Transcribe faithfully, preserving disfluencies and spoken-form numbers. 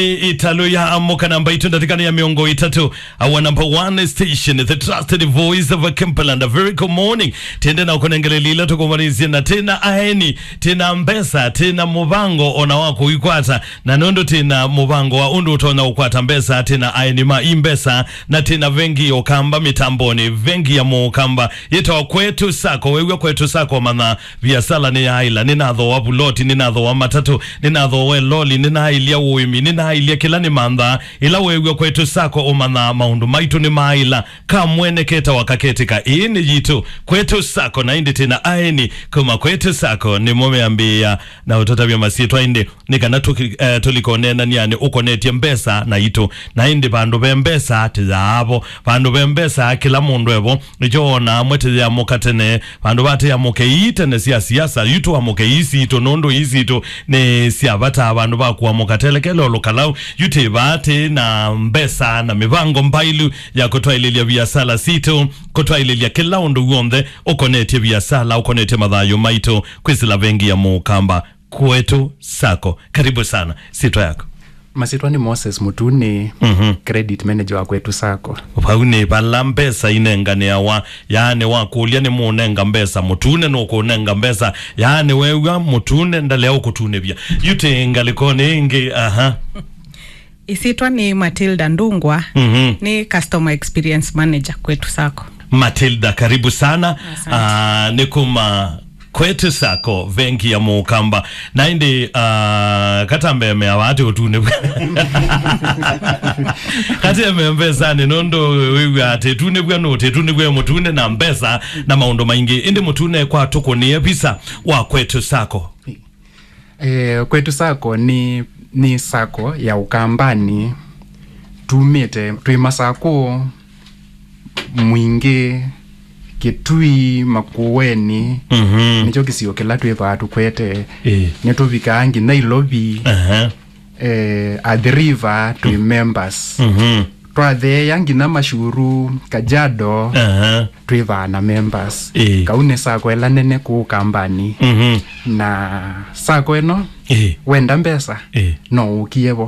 Ĩtalũ ya amũka namba itũ ndatĩka nĩ ya mĩongo ĩtatũ. Our number one station, the trusted voice of Kimberland. A very good morning. Tĩende na ũkũnengele lila tũkũmbanĩsye na tĩna aeni, tĩna mbesa, tĩna mũvango ona wa kũikwata. Na nũndũ tĩna mũvango wa ũndũ ũtonya ũkwata mbesa, tĩna aeni ma imbesa, na tĩna vengi ya ũkamba mĩtambonĩ, vengi ya mũkamba. Yĩtawa Kwetu Sacco. Wew'a Kwetu Sacco, manya viasala nĩ yaĩla, nĩnathooa vuloti, nĩnathooa matatũ, nĩnathooa loli, nĩnaĩlya ũĩmi, nĩnaĩlya kĩla nĩmanthaa. Ĩla weew'a Kwetu Sacco, ũmanyaa maũndũ maitũ nĩmaaĩla. Kamwene ketawa kaketĩka, ĩĩ nĩ yitũ. Kwetu Sacco, na ĩndĩ tĩna aeni kuma Kwetu Sacco nĩmo meambĩĩa na ũtũtavya masyĩtwa, ĩndĩ nĩ kana tũki- eh, tũlikoneenanĩanĩ ũkonetye mbesa na itũ. Na ĩndĩ vandũ ve mbesa tĩyaavo, vandũ ve mbesa kĩla mũndũ evo. Nĩkyo wonaa amwe tĩyamũka tene, vandũ va tĩyamũke ii tene sya siasa, yu tũamũke ii sitũ, nũndũ ii sitũ nĩ sya vata. Vandũ va kũamũka telekele ũlũkalau, yu tĩ vaa tĩ na mbesa na mĩvango mbailu ya kũtwaĩlĩlya viasala sitũ, kũtwaĩlĩlya kĩla ũndũ w'onthe ũkonetye viasala, ũkonetye mathayũ maitũ. Kwĩsĩla vengi ya mũkamba. Kwetu Sacco. Karibu sana. Sitwa yako? Masitwa nĩ Moses Mutune, Mhm. credit manager wa Kwetu Sacco. Vau nĩ vala mbesa inenganĩawa, yaani wakũlya nĩ mũnenga mbesa, Mutune nũkũnenga mbesa, yaani wew'a Mutune ndalea ũkũtunĩvya. Yu tĩ ngalĩkonĩ ĩngĩ, aha. Ĩsyĩtwa nĩ Matilda Ndungwa, Mhm. nĩ customer experience manager Kwetu Sacco. Matilda, karibu sana. Asante. Ah, nĩ kuma Kwetu Sacco, vengi ya mũkamba. Na ĩndĩ, ah, katambemea vati ũtunĩvw'a. Katembea mbesanĩ, nũndũ wĩw'a atĩ tunĩvw'a nũtĩ, tunĩvw'a Mutune na mbesa na maũndũ maingĩ. Ĩndĩ Mutune kwa tũkũnĩe visa wa Kwetu Sacco. Eh, Kwetu Sacco nĩ, nĩ sacco ya Ũkambanĩ. Tumĩte, twĩ Masakũ, Mwingĩ, Kĩtui, Makueni. Mhm. Nĩkyo kĩsio kĩla twĩthaa tũkwete. Ĩĩ. Nĩtũvikaa nginya Ilovi. Aha. Eh, Athi River twĩ members. Mhm. Twatheea nginya Mashuru, Kajiado, Aha. twĩthaa na members. Ĩĩ. Kau nĩ sacco ĩla nene kũu Ũkambanĩ. Mhm. Na sacco ĩno, Ĩĩ. wenda mbesa, Ĩĩ. no ũkie vo.